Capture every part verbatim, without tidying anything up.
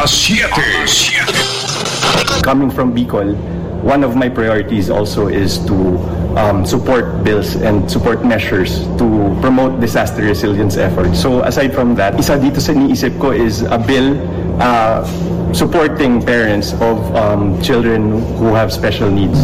Siete. Coming from Bicol, one of my priorities also is to um, support bills and support measures to promote disaster resilience efforts. So aside from that, isa dito sa iniisip ko is a bill uh, supporting parents of um, children who have special needs.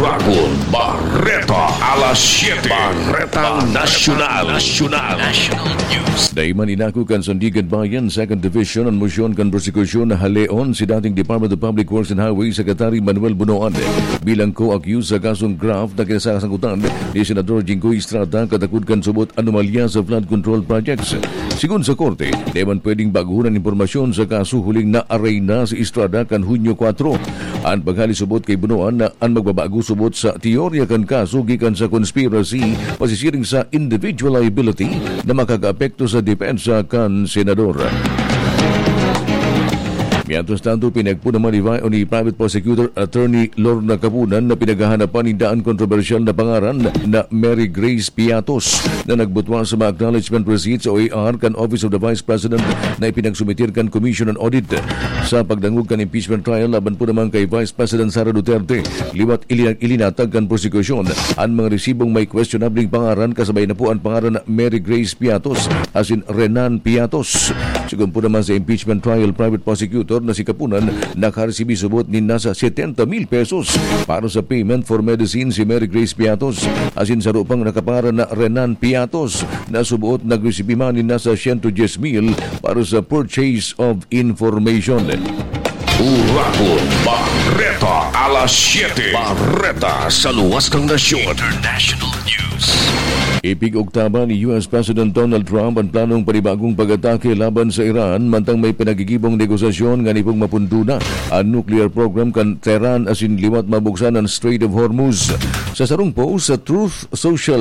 Ragon Barreta, alas siete. Barreta Nacional. Nacional. National News. Daiman inako kan Sandigan Bayan, Second Division, an mosyon kan prosekusyon na haleon si dating Department of Public Works and Highways Secretary Manuel Bunoan bilang co-accused sa kasong graft na kinasasangkutan ni Senador Jinggoy Estrada katakod kan subot anomalya sa flood control projects. Sigon sa korte, daiman pwedeng baguhon an impormasyon sa kaso huling na-arraign na si Estrada kan Hunyo kwatro. An paghale subot kay Bunoan na an magbabago subot sa teorya kan kaso gikan sa conspiracy pasisiring sa individual liability na makakaapekto sa depensa kan senador. Mientras tanto, pinagpo naman ni, Vi- ni Private Prosecutor Attorney Lorna Kapunan na pinaghahanapan ninda an kontrobersyal na pangaran na Mary Grace Piatos na nagbutwa sa mga acknowledgement receipts o A R kan Office of the Vice President na ipinagsumitir kan Commission on Audit. Sa pagdangog kan impeachment trial laban po naman kay Vice President Sara Duterte, liwat ilina- ilinatag kan prosekusyon an mga resibong may questionableng pangaran, kasabay na po an pangaran na Mary Grace Piatos asin Renan Piatos. Sigon po naman sa impeachment trial private prosecutor na si Kapunan, nakaresibi subot nin nasa setenta mil pesos para sa payment for medicine si Mary Grace Piatos asin saro pang nakapangaran na Renan Piatos na subot nagresibi man nin nasa siyento dyes mil para sa purchase of information. Ragon Barreta, alas siete. Barreta sa luwas kan nasyon. International News. Ipig-oktaban ni U S President Donald Trump an planong panibagong pag-atake laban sa Iran, mantang may pinagigibong negosasyon ngani pong mapundo na an nuclear program kan Tehran asin liwat mabuksan an Strait of Hormuz. Sa sarong post sa Truth Social,